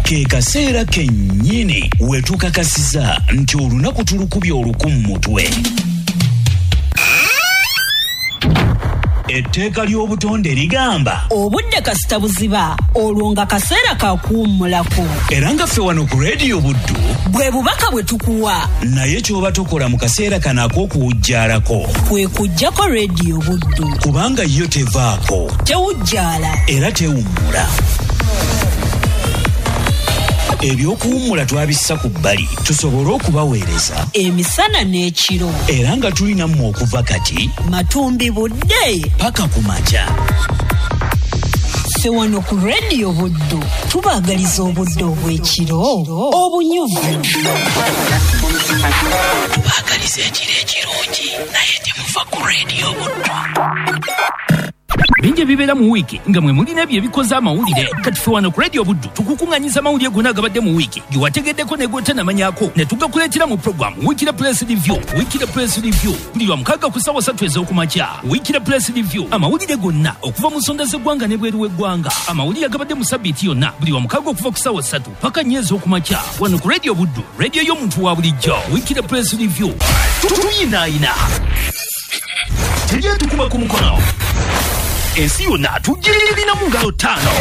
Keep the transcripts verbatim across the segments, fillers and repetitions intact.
Ke kaseera kennyini we tukakasiza nti olunaku tulukubye oluku mu mutwe. Etteeka ly'obutonde ligamba obudde kasita buziba olwo nga kaseera ka kuwummulako. Era nga ffe wano ku Radio Buddu bwe bubaka bwe tukuwa, naye ky'oba tokola mu kaseera kano ak'okuwujjaalako kwe kuggyako Radio Buddu, kubanga yo tevaako, tewujjaala era tewummula. Ebyokuwummula twabissa ku bbali tusobole okubaweereza emisana n'ekiro, era nga tulina mmwe okuva kati matumbi budde paka ku makya. Ffe wano ku Radio Buddu tubaagaliza obudde obw'ekiro obunyuvu. Tubaagaliza ekiro ekirungi, naye temuva ku Radio Buddu. Bingi ebibeera mu wiiki nga mwe mulina ebyo ebikoze amawulire. Kati ffe wano ku Radio Buddu tukukuŋŋanyiza amawulire gonna agabadde mu wiiki ge wategeddeko ne g'otanamanyako, ne tugakuleetera mu puroguramu Weekly Press Review. Weekly Press Review buli lwa mukaaga ku ssaawa ssatu ez'okumakya. Weekly Press Review, amawulire gonna okuva mu nsonda z'eggwanga n'ebweru w'eggwanga, amawulire agabadde mu sabbiiti yonna buli lwa mukaaga okuva ku ssaawa ssatu paka nnya ez'okumakya, wano ku Radio Buddu, radio y'omuntu wa bulijjo. Weekly Press Review tuyinaayina, tujja tukuba ku mukono, ensi yonna tugirina mu ngalo ttaano.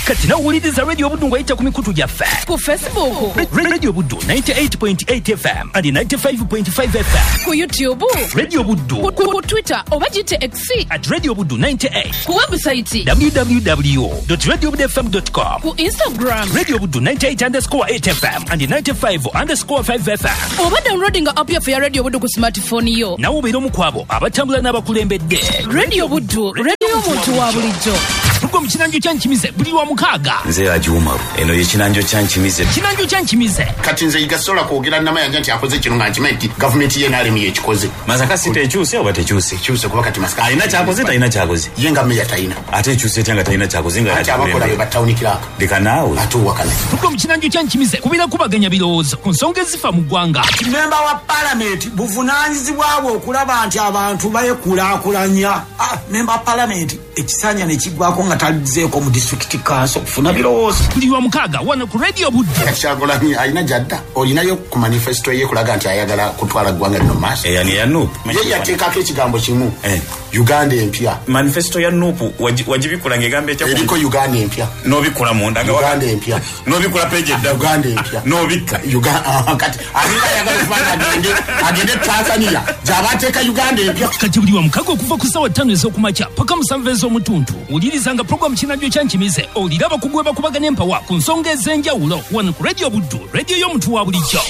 Kati nawuliriza Radio Buddu ng'oyita ku mikutu gyaffe ku Facebook Radio Buddu ninety-eight point eight F M and ninety-five point five F M, ku YouTube Radio Buddu, ku, ku Twitter oba gite X at Radio Buddu ninety-eight, ku website w w w dot radio buddu f m dot com, ku Instagram Radio Buddu ninety-eight underscore eight F M and ninety-five underscore five F M, oba downloading app yaffe ya Radio Buddu ku smartphone yo. Nawe obeera omu ku abo abatambula n'abakulembedde. Radio Buddu, radio y'omuntu wa bulijjo. Tugo mu kinanjo kya Nkimize buli wa mukaaga. Nze Haji Umaru, eno ye kinanjo kya Nkimize. Kinanjo kya Nkimize. Kati nze igasobola kwogera Namayanja nti akoze kino nga nkimanyi nti gavumenti ye N R M yekikoze. Masaka si tekyuse oba tekyuse? Ekyuse kuba kati Masaka alina kyakoze, talina kyakoze. Ye nga meya talina. Ate ekyuse etya nga talina kyakoze nga ate abakola be ba town clerk. Leka naawe. Ate owakana. Tugo mu kinanjo kya Nkimize kubeera kubaganya birowoozo ku nsonga ezifa mu ggwanga. Memba wa palamenti buvunaanyizibwa bwe okulaba nti abantu beekulaakulanya. Ah, memba wa palamenti ekisanja ne kiggwako nga talizzeeko mu district council okufuna birowoozo. Buli wa mukaaga wano ku Radio Buddu. Kyagulanyi alina gy'adda, olinayo ku manifesto ye kulaga nti ayagala kutwala ggwanga lino mu maaso. Eyo ni ya N U P. Ye yateekako ekigambo kimu, eh. Uganda empya. Manifesto ya N U P wagibikula ng'egamba etya? Eriko Uganda empya. N'obikula munda nga Uganda empya. N'obikula page edda. Uganda empya. N'obikka. Uganda kati alinga ayagala okuba agende agende Tanzania gy'aba ateeka Uganda empya. Kati buli wa mukaaga okuva ku ssaawa ttaano ez'okumakya paka musanvu ez'omutuntu wulirizanga puroguramu Kinanjo kya Nkimize, owulire abakugu bakubagana empawa ku nsonga ez'enjawulo wano ku Radio Buddu, radio y'omuntu wa bulijjo.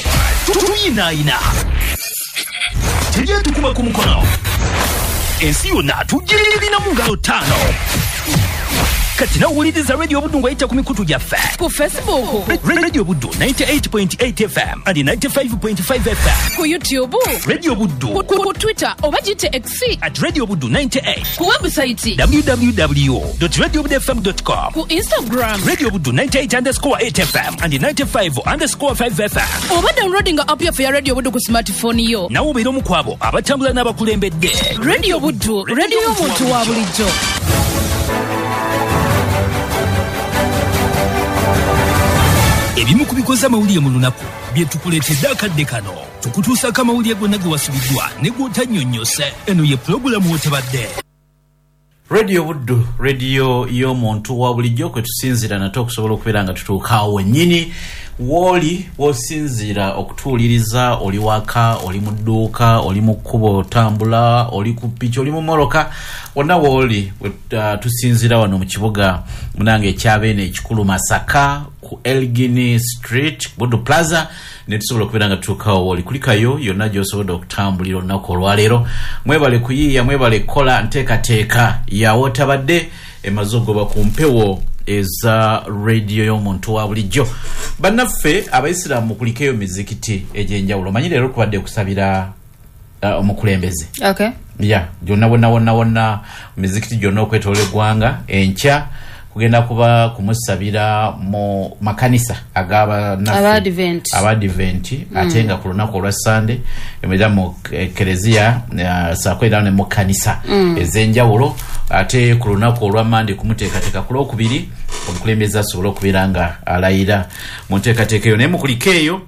Tuyinaayina, tujja tukuba ku mukono, ensi yonna tugirina mu ngalo ttaano. Kati nawuliriza Radio Buddu ng'oyita ku mikutu gyaffe ku Facebook Radio Buddu ninety-eight point eight F M and ninety-five point five F M, ku YouTube Radio Buddu, ku, ku Twitter oba gite X at Radio Buddu ninety-eight, ku website w w w dot radio buddu f m dot com, ku Instagram Radio Buddu ninety-eight underscore eight F M and ninety-five underscore five F M, oba downloading app yaffe ya Radio Buddu ku smartphone yo. Nawe obeera omu ku abo abatambula n'abakulembedde. Radio Buddu, radio y'omuntu wa bulijjo. Ebimu ku bikoze amawulire mu lunaku bye tukuleetedde akadde kano. Tukutuusaako amawulire gonna ge wasubiddwa ne g'otannyonnyose. Eno ye pulogulaamu w'otebadde. Radio Buddu, radio y'omuntu wa bulijjo kwe tusinziira nate okusobola okubeera nga tutuuka awo wennyini w'oli w'osinziira okutuwuliriza. Oli waka, oli mu dduuka, oli mu kkubo otambula, oli ku piki, oli mu mmotoka, wonna w'oli uh, tusinziira wano mu kibuga munange ekyabeene ekikulu Masaka ku Elgin Street Buddu Plaza, ne tusobola okubeera nga tutuukawo w'oli. Kulikayo yonna gy'osobodde okutambulira olunaku olwaleero. Mwebale kuyiiya, mwebale kukola nteekateeka yawotabadde emaze okugoba ku mpewo eza radio y'omuntu wa bulijjo. Bannaffe abayisiraamu kulikeyo mizikiti egy'enjawulo. Manyi leero kubadde kusabira uh, omukulembeze. Okay. Ya, gyonna wonna wonna wonna mizikiti gyonna okwetoola eggwanga enkya kugenda kuba kumusabira mu makanisa ag'abannaffe Abadvent, ate nga ku lunaku olwa Sande emera mu ekereziya uh, saako era ne mu kanisa mm. ez'enjawulo Ate ku lunaku olwa Mande kumuteekateeka ku Lwokubiri omukulembeze asobole okubeera nga alayira mu nteekateeka eyo. Naye mukuliko eyo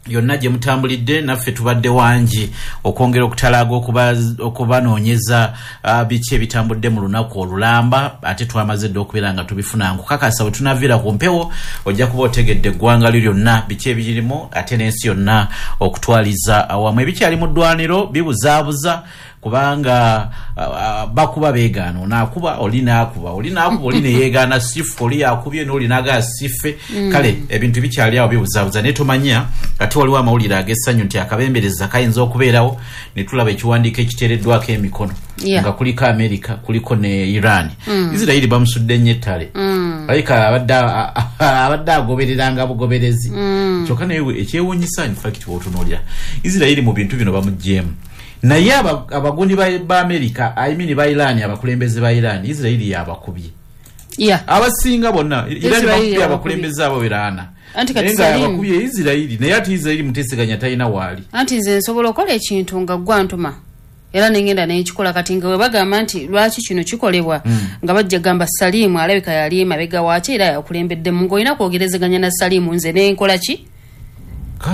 yonna gye mutambulidde, naffe tubadde wangi okwongera okutalaaga okubanoonyeza uh, biki ebitambudde mu lunaku olulamba, ate twamaze dda okubeera nga tubifuna. Nkukakasa bwe tunaviira ku mpewo ojja kuba otegedde eggwanga lyo lyonna biki ebirimu, ate n'ensi yonna okutwaliza awamu. Ebikyali mu ddwaniro bibuzaabuza kubanga uh, uh, bakuba beegaana, onaakuba oli naakuba oli naakuba oli neyeegaana sife, oli yakubye n'oli naagaa sife. mm. Kale ebintu bikyali awo bibuzaabuza, naye tomanya ate waliwo amawulire ag'essanyu nti akabembereza kayinza okubeerawo ne tulaba ekiwandiiko ekiteereddwako emikono, yeah. nga kuliko America, kuliko ne Iran. mm. Israeli bamusudde nnyo ettale, mm. alabika abadde abadde agobereranga bugoberezi. mm. Kyokka naye ekyewuunyisa, in fact bw'otunuulira Israeli mu bintu bino bamuggyemu, naye abagundi ba America, I mean ba Iran, abakulembeze ba Iran, Israeli yabakubye. Yeah. Abasinga bonna Iran bakubye abakulembeze abo beraana. Anti kati abakubye Israeli, naye ate Israeli muteeseganya talina waali. Anti nze nsobola okukola ekintu nga gwantuma era nengenda nenkikola. Kati nga bwe bagamba nti lwaki kino kikolebwa, mm. nga bajja gamba Salimu alabika yali emabega waaki era yakulembeddemu, ng'olina kwogerezeganya na Salimu nze nenkola ki?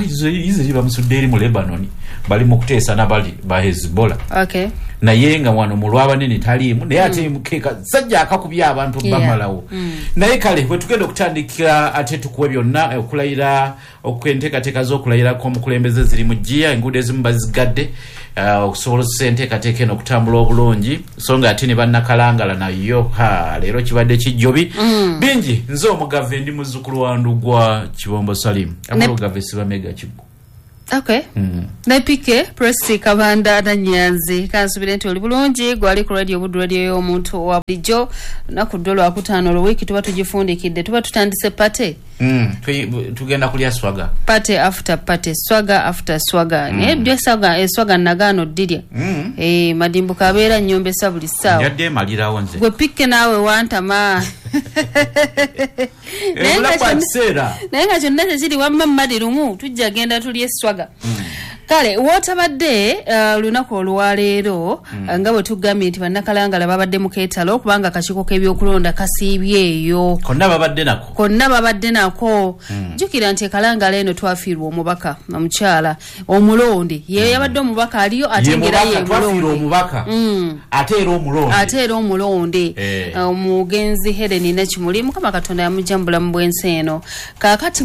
Israeli bamusudde eri mu Lebanon, bali mu kuteesa n'abali ba Hezbollah. Okay. Naye nga wano mu lwabanene taliimu, naye ate mukeeka sajja akakubye abantu bamalawo. Mm. Naye kale bwe tugenda okutandikira ate tukuwe byonna okulayira, okwenteekateeka z'okulayirako omukulembeze ziri mu ggiya, enguudo ezimu bazigadde okusobola enteekateeka eno okutambula obulungi, so nga ate ne bannakalangala nayo ha leero kibadde kijjobi. Mm. Bingi. Nze omugave ndi muzzukulu wa Ndugwa Kibombo Salim, amulugave sibamega Kiggo. Okay. Mm. Ne P K Presi Kabanda na Nyanzi, kansubire nti oli bulungi gwali ku Radio Buddu, radio y'omuntu wa bulijjo. Lunaku ddo lwakutaano olwo, wiiki tuba tugifundikidde, tuba tutandise party. Mm. Tugenda kulya swaga, party after party, swaga after swaga. mm. Naye byo swaga, eswaga nagaano ddirya. mm. Eh, madimbuka abeera nnyombesa buli ssaawa. Njadde emalirawo nze. Gwe P K naawe wantama. Naye nga kyonna kyekiri, wamma mmadi lumu tujja genda tulye swaga. mm. Kale wootabadde olunaku uh, olwaleero, mm. nga bwe tugambye nti bannakalangala babadde mu keetalo kubanga akakiiko k'ebyokulonda kasiibye eyo. Konna babadde nako, konna babadde nako. mm. Jjukira nti ekalangala eno twafiirwa omubaka omukyala omulonde, ye mm. yabadde omubaka aliyo ate ngera ye mulonde omubaka, mm. ate era omulonde, ate era omulonde eh. Omugenzi Helen Nakimuli, Mukama Katonda yamujja mu bulamu bw'ensi eno. Kaakati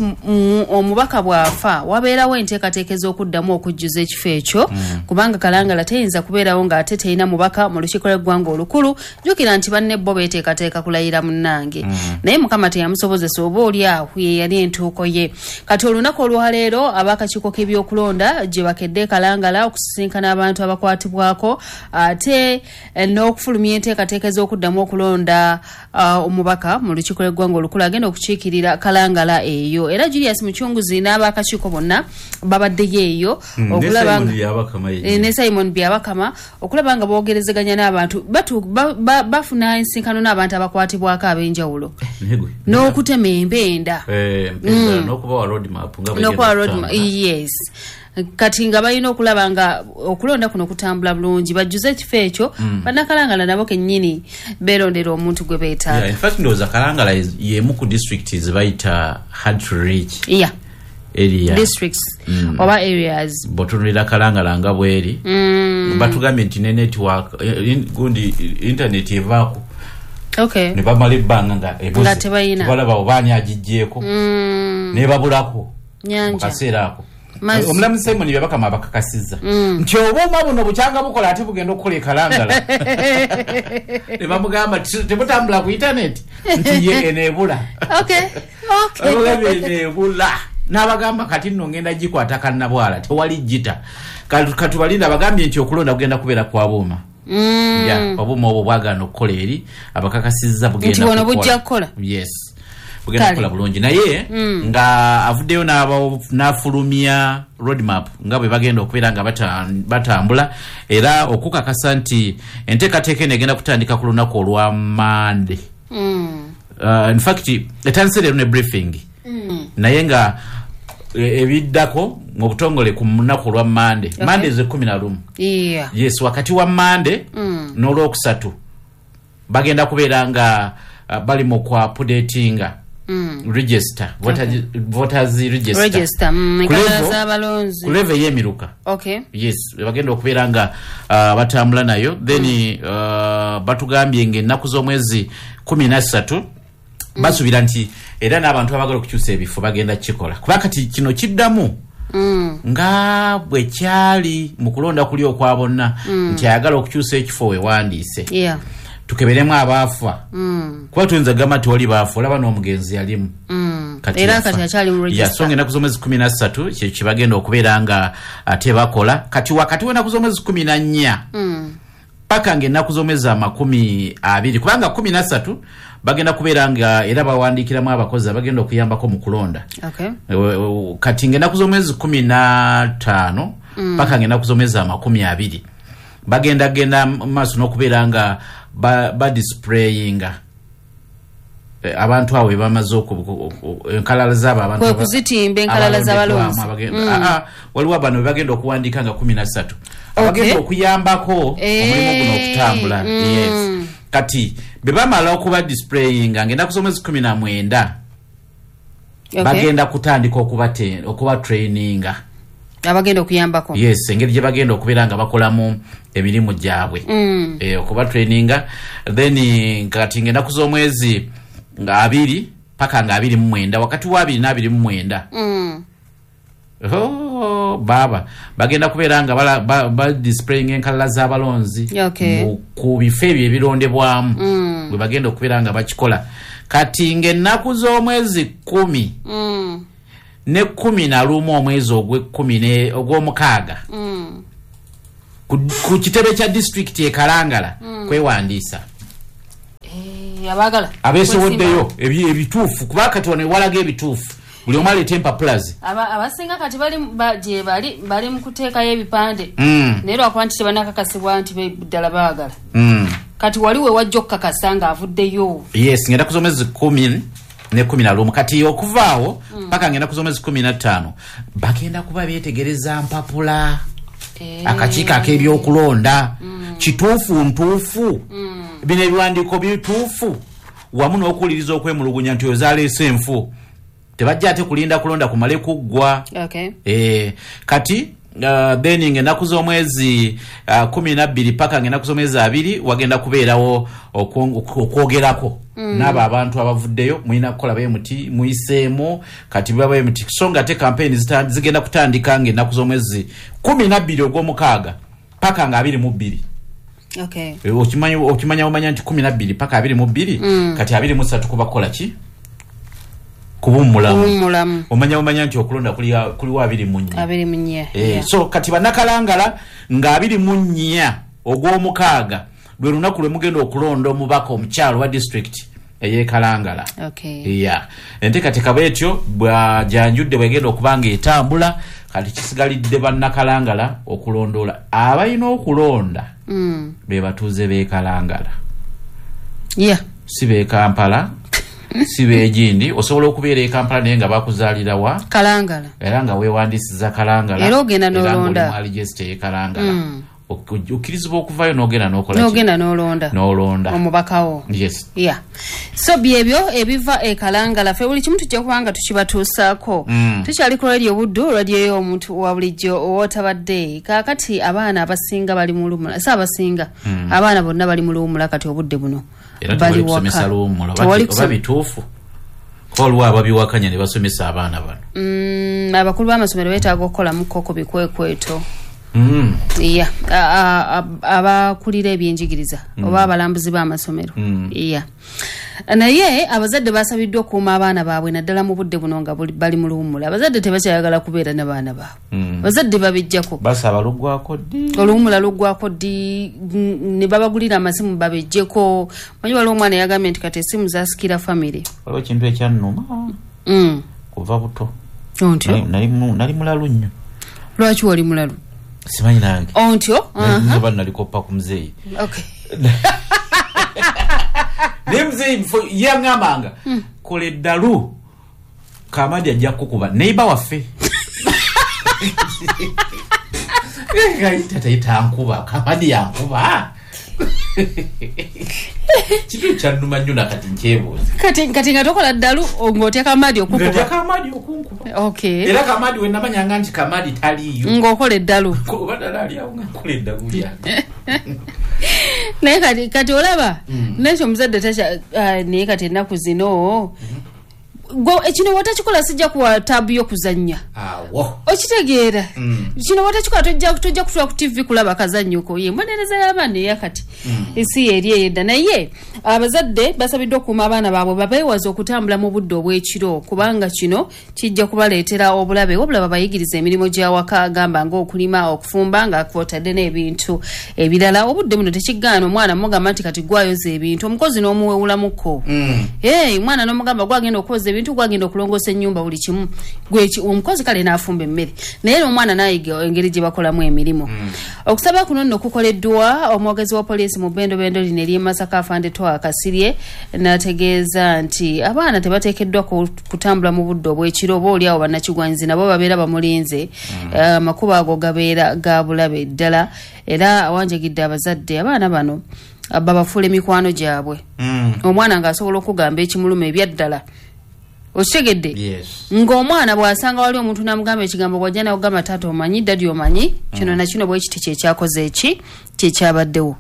omubaka bw'afa wabeerawo enteekateeka ez'okuddamu okujjuza ekifo ekyo, mm. kubanga Kalangala teyinza kubeerawo ng'ate terina mubaka mu lukiiko lw'eggwanga olukulu. Jjukira nti banne bo beeteekateeka kulayira munnange. mm. Naye Mukama teyamusobozesa, oba oli awo ye yali entuuko ye. Kati olunaku olwaleero ab'akakiiko k'ebyokulonda gye bakedde Kalangala okusisinkana abantu abakwatibwako, ate n'okufulumya enteekateeka ez'okuddamu okulonda uh, omubaka mu lukiiko lw'eggwanga olukulu agenda okukiikirira Kalangala eyo. Era Julius Muchunguzi n'ab'akakiiko bonna babaddeyo eyo okulaba ne Simon Byabakama okulaba nga boogerezeganya n'abantu, bafuna ensinkano n'abantu abakwatibwako ab'enjawulo n'okutema empenda, n'okubawa roadmap, n'okubawa roadmap, yes. Kati nga balina okulaba nga okulonda kuno kutambula bulungi, bajjuze ekifo ekyo. mm. Bannakalangala nabo kennyini beerondera omuntu gwe beetaaga. Yeah, in fact ndowooza Kalangala y'emu ku district ze bayita hard to reach yeah. area districts, mm. oba areas. Bw'otunuulira Kalangala nga bweri, mm. batugambye nti ne network gundi internet evaako. Okay. Ne bamala ebbanga nga nga tebayina, balaba obaani agiggyeeko, mm. ne babulako mu kaseera ako. Omulamuzi Simon Byabakama abakakasizza mm. nti obuuma buno bukyanga bukola ate bugenda okukola ekalangala. Ne bamugamba tebutambula ku internet, nti ye eneebula. Okay. Okay. Eneebula n'abagamba kati nno ngenda gikwata kannabwala tewali gita. Katubalinda abagambye nti okulonda kugenda kubeera kwa buuma. Mm. Yeah, obuuma obwo bwagaana okukola eri abakakasizza bugenda kukola. Bujja kukola. Yes. Bugenda kukola bulungi, naye mm. nga avuddeyo n'afulumya roadmap nga bwe bagenda okubeera nga batambula, era okukakasa nti enteekateeka eno egenda kutandika ku lunaku olwa Mande. Mm. Uh, in fact etandise leero ne briefing. Mm. Naye nga ebiddako mu butongole ku lunaku olwa Mande. Okay. Mande ze kkumi na lumu. Yeah. Yes, wakati wa Mande mm. n'olwokusatu Bagenda kubeera nga uh, bali mu kwa updatinga Mm. register, voters, Okay. voters register, Register, mm, Ku enkalala level- z'abalonzi. ku level ey'emiruka. Okay. Yes, bagenda okubeera nga uh, batambula nayo. Then uh, batugambye ng'ennaku z'omwezi kumi na ssatu basuubira nti era n'abantu abagala okukyusa ebifo bagenda kukikola, kuba kati kino kiddamu Mm. nga bwe kyali mu kulonda kuli okwa bonna, nti ayagala okukyusa ekifo wewandiise. Yeah. Tukeberemu abaafa, Mm. kuba tuyinza kugamba nti wali baafa, olaba n'omugenzi yalimu. Mm. Kati Era yafa. kati akyali mu Ya, register. so ng'ennaku z'omwezi kumi na ssatu kye kibagenda okubeera nga ate bakola. Kati wakati w'ennaku z'omwezi kumi na nnya Mm. paka ng'ennaku z'omwezi amakumi abiri, kubanga kumi na ssatu bagenda kubeera nga era bawandiikiramu abakozi abagenda okuyambako mu kulonda. Okay. E, e, kati ng'ennaku z'omwezi kumi na ttaano paka ng'ennaku z'omwezi amakumi abiri bagenda genda mu maaso n'okubeera nga ba, ba displayinga Eh, abantu abo be bamaze oku- oku- oku- enkalala zaabo abantu Kwe aba- kuzitimba enkalala z'abalonzi. abalondeddwamu, abagenda- Ah, ah, waliwo bano be bagenda okuwandiika nga kumi na ssatu abagenda okuyambako Eh, omulimu guno okutambula. mm. Yes, kati bwe bamala okuba displayinga ng'ennaku z'omwezi kumi na mwenda Okay. bagenda kutandika okubate- okubatraininga. Abagenda okuyambako. Yes, engeri gye bagenda okubeera nga bakolamu emirimu gyabwe. Mm. Eh, okubatraininga. Then eh, kati ng'ennaku z'omwezi nga abiri paka nga abiri mu mwenda, wakati wa abiri n'abiri mu mwenda, Mm. Oh, baaba bagenda kubeera nga bala- ba, ba displaying enkalala z'abalonzi Okay. mu- ku bifo ebyo ebirondebwamu Mm. bwe bagenda okubeera nga bakikola. Kati ng'ennaku z'omwezi kumi Mm. ne kumi na lumu, omwezi ogw'ekkumi ne- ogw'omukaaga, Mm. ku, ku kitebe kya disitulikiti e Kalangala kwewandiisa. Eh, abaagala Abeesowoddeyo ebi- ebituufu, kuba kati wano ewalaga ebituufu buli omu aleeta empapula ze. Aba- abasinga kati bali ba- gye bali bali mu kuteekayo ebipande, Mm, naye lwakuba nti tebanakakasibwa nti be- ddala baagala. mm. Kati wali we wajja okukakasa ng'avuddeyo. Yes, ngenda ku z'omwezi kumi ne kumi na lumu. Kati okuvaawo paka ngenda ku z'omwezi kumi na ttaano bagenda kuba beetegereza mpapula. Eh. Akakiiko ak'ebyokulonda, kituufu ntuufu, bino ebiwandiiko bituufu, wamu n'okuwuliriza okwemulugunya nti ozaaleese enfu. Tebajja ate kulinda kulonda kumale kuggwa. Okay. Eh, kati uh, then ng'ennaku z'omwezi uh, kumi na bbiri paka ng'ennaku z'omwezi abiri wagenda kubeerawo okwo- okwogerako n'abo abantu abavuddeyo, mulina kukola bwe muti, muyiseemu kati biba bwe muti. So nga ate kampeyini zita- zigenda kutandika ng'ennaku z'omwezi kumi na bbiri ogw'omukaaga paka nga abiri mu bbiri. Okay. Eh, okimanya okimanya omanya nti kumi na bbiri paka abiri mu bbiri, kati abiri mu ssatu kuba kukola ki? Kuwummulamu. Kuwummulamu. Omanya omanya nti okulonda kuli- kuliwo abiri mu nnya. Abiri mu nnya. Eh, Yeah. so kati bannakalangala nga abiri mu nnya ogw'omukaaga lwe lunaku lwe mugenda okulonda omubaka omukyalo wa disitulikiti ey'ekalangala. Okay. Ya, enteekateeka bwetyo bwajanjudde bwegenda okuba nga etambula. Kati kisigalidde bannakalangala okulondoola abalina okulonda. Mm. Be batuuze b'e Kalangala, Yeah. si b'e Kampala, si b'egindi. Osobola okubeera e Kampala naye nga bakuzaalira wa? Kalangala. Era nga weewandiisiza Kalangala. Era ogenda n'olonda. N'olonda ey'e Kalangala. Ok- okkirizibwa okuvayo n'ogenda n'okola ki? N'ogenda n'olonda N'olonda omubakawo. Yes. Yeah, so byebyo ebiva e Kalangala. Ffe buli kimu tujja kuba nga tukibatuusaako. Mm. Tukyali ku Radio Buddu, radio y'omuntu wa bulijjo owootabadde. Kaakati abaana abasinga bali mu luwumula, si abasinga, abaana bonna bali mu luwumula kati obudde buno. Era Bali tewali waka. kusomesa luwummula. Tewali oba kusoma- bituufu, kuba waliwo ababiwakanya ne basomesa abaana bano. Mm, abakulu b'amasomero beetaaga okukolamuko ku bikwekweto. Mm. Ya, a- a- a- abakulira ebyenjigiriza oba abalambuzi b'amasomero. Ya, naye abazadde basabiddwa okukuuma abaana baabwe naddala mu budde buno nga buli- bali mu luwummula. Abazadde tebakyayagala kubeera n'abaana baabwe, abazadde babijjako. Basaba luggwako ddi? Oluwummula luggwako ddi? mm, ne babagulira amasimu babejjeko. Manyi waliwo omwana yagambye nti kati esimu zasikira famire. Waliwo ekintu ekyannuma Mm. kuva buto. Ontyo? Nali- nali mu- nali mulalu nnyo. Lwaki wali mulalu? Simanyi nange. Ontyo? Aha. Oba nalikoppa ku muzeeyi. Okay. Naye muzeeyi mfo- yaŋŋambanga, kola eddalu, Kamadi ajja kukuba neiba waffe. Tata yankuba, Kamadi yankuba. Kitu kyannuma nnyo nakati nkyebuuza. Kati kati nga tokola ddalu ng'otya Kamadi okukuba. Ng'otya Kamadi okunkuba. Okay. Era Kamadi we namanyanga nti Kamadi taliiyo. Ng'okola eddalu. Oba ddala ali awo nga nkola eddalu lyange. Naye kati kati olaba Mm. nekyo omuzadde takya ah, naye kati ennaku zino gwe ekino watakikola sijja kuwa taabu y'okuzannya. Awo. Okitegeera? Mm. Kino watakikola tojja tojja kutula ku T V kulaba kazannyoko. Ye mbonereza y'abaana eyakati ensi eri eyedda. Naye abazadde basabiddwa okukuuma abaana baabwe, babeewaze okutambula mu budde obw'ekiro kubanga kino kijja kubaleetera obulabe, wabula babayigiriza emirimu gy'awaka gamba ng'okulima, okufumba nga kwotadde n'ebintu ebirala. Obudde buno tekigaana omwana mugamba nti kati gwayoza ebintu, omukozi n'omuwewulamuko. Mm. Hey, omwana n'omugamba gwagenda okwoza ebintu, gwagenda okulongoosa ennyumba, buli kimu gweki omukozi kale n'afumba emmere, naye omwana n'ayiga engeri gye bakolamu emirimu. Okusaba kuno nno kukoleddwa omwogezi wa poliisi mu bbendobendo lino ery'e Masaka, Afande Twaha Kasirye, n'ategeeza nti abaana tebateekeddwa ku- kutambula mu budde obw'ekiro, oba oli awo bannakigwanyizi nabo babeera bamulinze. Eh, amakubo ago gabeera ga bulabe ddala, era awanjagidde abazadde abaana bano ah, babafuule mikwano gyabwe. Mm. Omwana ng'asobola okugamba ekimuluma ebyaddala, okitegedde? Yes. Ng'omwana bw'asanga wali omuntu n'amugamba ekigambo, bw'ajja n'akugamba, "Taata omanyi, daddy omanyi kino na kino," bwe kiti kyekyakoze eki kyekyabaddewo.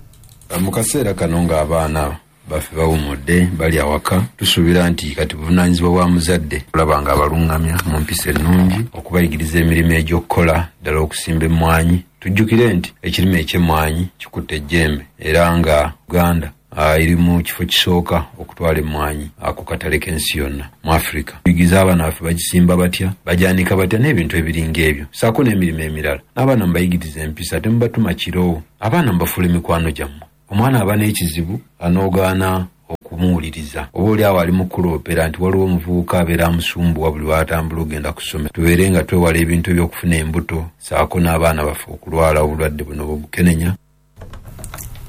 Mu kaseera kano ng'abaana baffe bawumudde, bali awaka, tusuubira nti kati buvunaanyizibwa bwa muzadde okulaba nga abaluŋŋamya mu mpisa ennungi, okubayigiriza emirimu egy'okukola, ddala okusimba emmwanyi. Tujjukire nti ekirime eky'emmwanyi kikutte ejjembe, era nga Uganda ah, eri mu kifo kisooka okutwala emmwanyi ah, ku katale k'ensi yonna mu Afirika. Tuyigiriza abaana baffe bagisimba batya, bagyanika batya, n'ebintu ebiringa ebyo, saako n'emirimu emirala. N'abaana mubayigiriza empisa, temubatuma kiro. Abaana mubafuula emikwano gyammwe. Omwana aba n'ekizibu anoogaana okumuwuliriza, oba oli awo ali mu kuloopera nti waliwo omuvubuka abeera amusumbuwa buli lwatambula ogenda ku ssomero. Tubeere nga twewala ebintu ebyokufuna embuto, saako n'abaana baffe okulwala obulwadde buno bwebukenenya.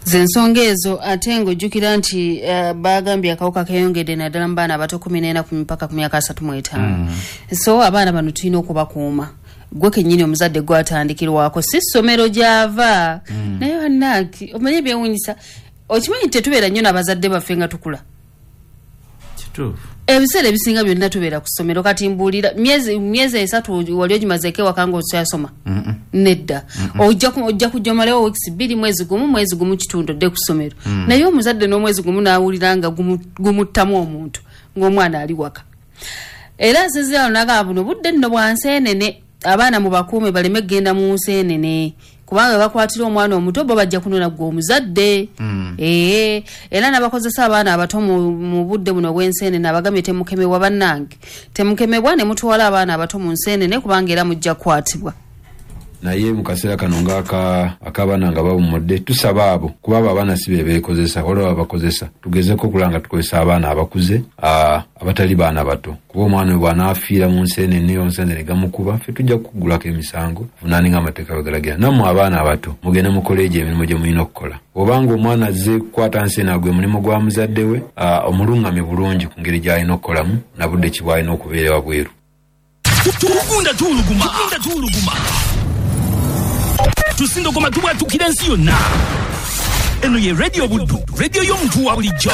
Zensonga ezo, ate ng'ojjukira nti uh, bagambye akawuka keyongedde naddala mu baana abato kumi n'ena ku mipaka ku myaka asatu mu etaano. So abaana bano tulina okubakuuma. Gwe kennyini omuzadde gwatandikirwako, si ssomero gy'ava. Naye bannange, omanyi ebyewuunyisa, okimanyi tetubeera nnyo n'abazadde baffe nga tukula? Kituufu. Ebiseera ebisinga byonna tubeera ku ssomero. Kati mbuulira, myezi myezi esatu wali ogimazeeko ewaka ng'okyasoma? Nedda. Ojja ku- ojja kujja omalewo weeks bbiri, mwezi gumu, mwezi gumu kitundu, odde ku ssomero. Naye omuzadde n'omwezi gumu n'awulira nga gumu- gumuttamu omuntu ng'omwana ali waka. Era nsinzira nagamba buno budde nno bwa nseenene, abaana mubakuume baleme kugenda mu nseenene, kubanga bakwatira omwana omuto bo bajja kunona gwe omuzadde. Ee, era n'abakozesa abaana abato mu mu budde buno obw'enseenene abagambye temukemebwa. Bannange, temukemebwa ne mutwala abaana abato mu nseenene, kubanga era mujja kukwatibwa. Naye mu kaseera kano ngaaka ak'abaana nga bawummudde, tusaba abo, kuba abo abaana si be beekozesa, waliwo abakozesa, tugezeko okulaba nga tukozesa abaana abakuze, aa, abatali baana bato, kuba omwana we bw'anaafiira mu nseenene, onseenene gamukuba, ffe tujja kukugulako emisango vunaane ng'amateeka bwe galagira. Nammwe abaana abato mugende mukole egyo emirimu gye mulina okukola. Obanga omwana azze kukwata nseene, gwe mulimu gwa muzadde we aa, omuluŋŋamye bulungi ku ngeri gy'alina okukolamu na budde ki bw'alina okubeera wabweru. Tugunda tuwuluguma, tugunda tuwuluguma, tusindogoma, tubwatukira ensi yonna. Eno ye Radio Buddu, radio y'omuntu wa bulijjo.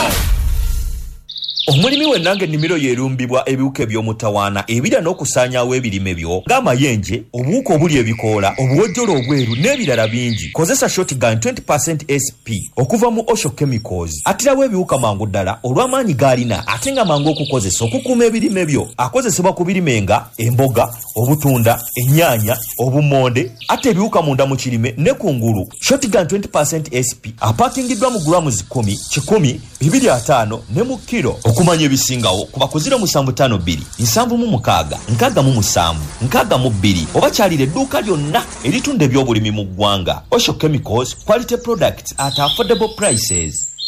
Omulimi wenna ng'ennimiro yeerumbibwa ebiwuka eby'omutawaana ebirya n'okusaanyaawo ebirime byo, ng'amayenje, obuwuka obuli ebikoola, obuwojjolo obweru n'ebirala bingi, kozesa Shotgun twenty S P okuva mu Osho Chemicals. Attirawo ebiwuka mangu ddala olw'amaanyi g'alina, ate nga mangu okukozesa okukuuma ebirime byo. Akozesebwa ku birime nga emboga, obutunda, ennyaanya, obumonde. Atta ebiwuka munda mu kirime ne ku ngulu. Shotgun twenty S P apakingiddwa mu grams kumi, kikumi, bibiri ataano ne mu kiro. Okumanya ebisingawo kuba ku zero musanvu ttaano bbiri nsanvu mu mukaaga nkaaga mu musanvu nkaaga mu bbiri, oba kyalira edduuka lyonna eritunda ebyobulimi mu ggwanga. Osho Chemicals, quality products at affordable prices.